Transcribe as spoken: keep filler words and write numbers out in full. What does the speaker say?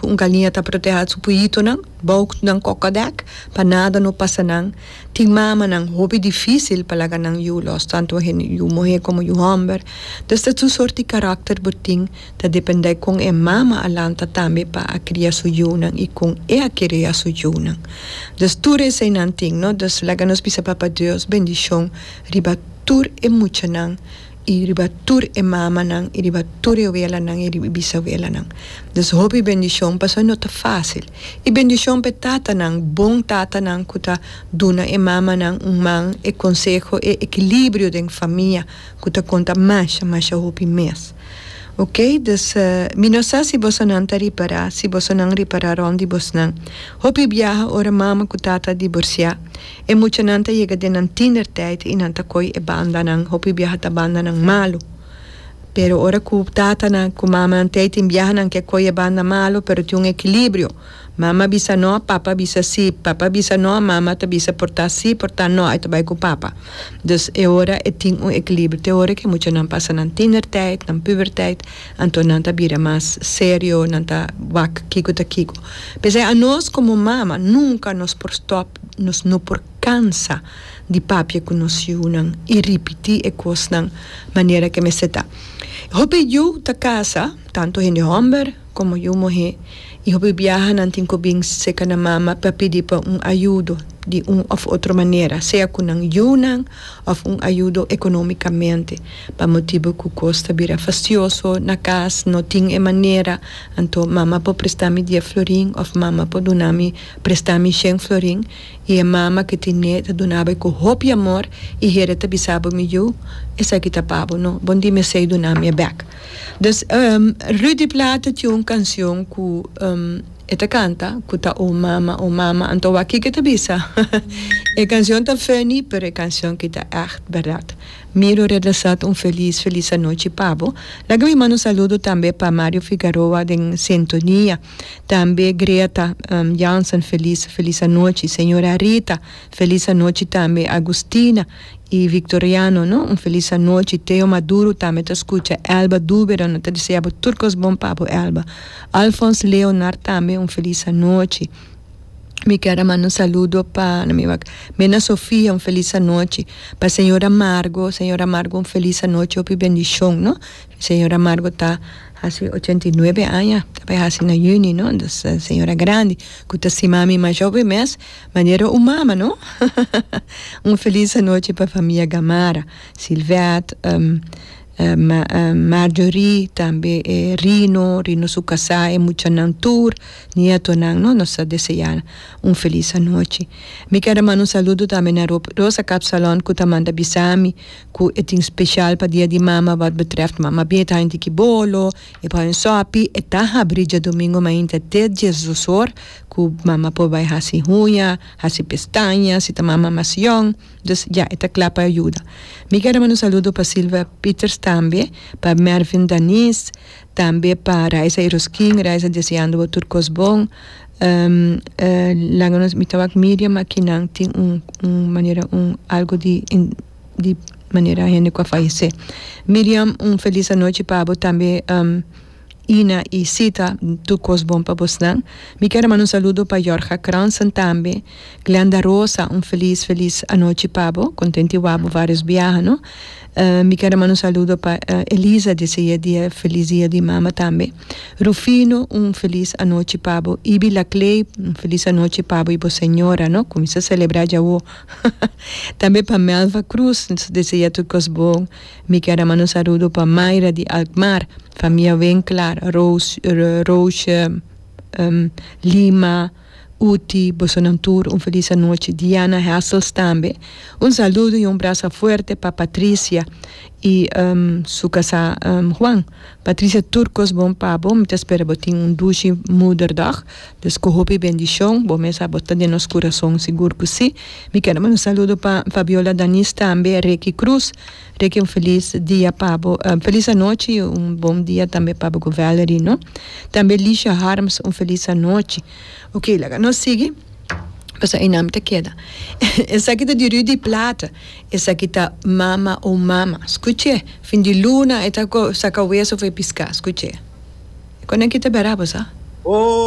Ku un galiña ta protehá su puyitonan, bou nan kokodek, pa nada no pasa nan. Tin mamanan hopi difísil pa laga nan yu los, tantu yu muhé komo yu hòmber. Dus ta tur sorto di karakter bo tin, ta dependé kon e mama a lanta tambe pa a kria su yunan i kon e a kria su yunan. Dus tur eseinan tin, no? Dus laga nos bisa Papa Dios bendishon riba tur e muchanan i riba tur e mamanan i riba tur e welanan i riba bisawelanan. Dus hopi bendishon, pasobra no ta fásil. I bendishon pa e tatanan, bon tatanan ku ta duna e mamanan un man, e konseho, e ekilibrio den famia ku ta konta masha, masha hopi mes. Ok, dus mi no sa si bosonan ta ripará, si bosonan ripará rònt di bosnan. Hopi biaha ora mama ku tata divorsiá, e muchanan ta yega den nan tienertijd i nan ta koi e bandanan, hopi biaha ta bandanan malu. Pero ora ku tatanan ku mamanan t'ei tin biahanan ke koi e banda malu, pero tin un ekilibrio. Mama bisa no, papa bisa sí, papa bisa no, mama ta bisa por ta sí, por ta no, e ta bai ku papa. Dus e ora e tin un ekilibrio. Te ora ku e muchanan pasa nan tienertijd, nan pubertijd, anto nan ta bira mas serio, nan ta wak kiko ta kiko. P'esei anos komo mama nunka nos por stòp, nos no por kansa di papia ku nos yunan i ripití e kosnan manera ku mester ta. Hopi yu ta kasa, tantu hende hòmber komo yu muhé, i hopi biaha nan tin ku bin serka nan mama pa pidi pa un ayudo di un òf otro manera, sea ku nan yunan òf un ayudo ekonómikamente, pa motibu ku kos ta bira fastioso na kas, no tin e manera, anto mama por presta mi dies florin òf mama por duna mi presta mi shen florin, i e mama ku tine ta duna bo ku hopi amor i hende ta bisa bo: "Mi yu, esaki ta pa bo, no bon di mesei duna mi bèk." Dus um, Rudy Plaate tin un kanshon ku um, e ta kanta ku ta "O Mama, O Mama", anto aki ku ta bisa. E kanshon ta funny, pero e kanshon ku ta echt bèrdat. Miro Redesat, un felis, felis anochi pa bo. Laga mi manda un saludo tambe pa Mario Figueroa den sintonia. Tambe Greta um, Jansen, felis, felis anochi. Señora Rita, felis anochi tambe. Agustina i Victoriano, no? Un felis anochi. Teo Maduro tambe ta skucha. Elba Duber, no ta deseá tur kos bon pa bo, Elba. Alphonse Leonard tambe, un felis anochi. Mi ke manda un saludo pa Mena Sofia, un felis anochi. Pa señora Margo, señora Margo, un felis anochi, hopi bendishon, no? Señora Margo ta hasi ochenta i nuebe aña, ta hasi na yüni, no? Dus señora grandi, ku ta stima mi mas hopi mes, manera un mama, no? Un felis anochi pa famia Gamara, Silvet, um, uh, Ma, uh, Marjorie, tambe eh, Rino, Rino su kasá i muchanan tur, nietonan, no? Nos ta deseá un felis anochi. Mi ke manda un saludo tambe na Rosa Kapsalon, ku ta manda bisa mi, ku e tin spesial pa dia di mama wat betreft mama beta een tiki bolo, e pa un sopi, e ta habri djadumingu mainta te diesdos or, ku mama por bai hasi huña, hasi pestaña, si ta mama mas yòn, dus ja, e ta kla pa yuda. Mi ke manda un saludo pa Silvia Peters tambe, pa Mervin Danis, tambe pa Raisa Eroskin, Raisa, deseando tur kos bon. Um, uh, laga nos mi ta wak Miriam akinan tin un, un manera un algo di in, di manera hende ku a fayesé. Miriam, un felis anochi pa bo tambe, um, Ina i Sita, tur kos bon pa boso. Mi ke manda un saludo pa Jorge Kransen tambe, Glenda Rosa, un felis, felis anochi pa bo, kontentu di wak bo vários biaha, no? Uh, mi ke manda un saludo pa uh, Elisa, deseá dia, felis dia di mama tambe. Rufino, un felis anochi pa bo. Ibi Laclay, un felis anochi pa bo i bo señora, no? Kuminsá selebrá ya. Tambe pa Melva Cruz, deseá tur kos bon. Mi ke manda un saludo pa Mayra di Alkmaar, famia Winklar, Rose, Rose um, Lima, Uti, bosonan tur, un felis anochi. Diana Hessels tambe. Un saludo i un brasa fuerte pa Patricia i um, su kasá um, Juan. Patricia, tur kos bon pa bo, mi ta spera bo tin un dushi moederdag. Dus ku hopi bendishon, bo mes bo ta den nos kurason, sigur ku si. Mi ke manda un saludo pa Fabiola Danis tambe, Ricky Cruz. Ricky, un felis dia pa bo, um, felis anochi, un bon dia tambe pa bo Valerie, no? Tambe Licia Harms, un felis anochi. Ok, laga nos sigui. Pasobra einan ta keda. Esaki ta di Rudy Plata. Esaki ta "Mama o Mama". Skucha. Fin di luna, e ta saka weso fo'i piská. Skucha. Kon aki ta berabo, sa? Oh.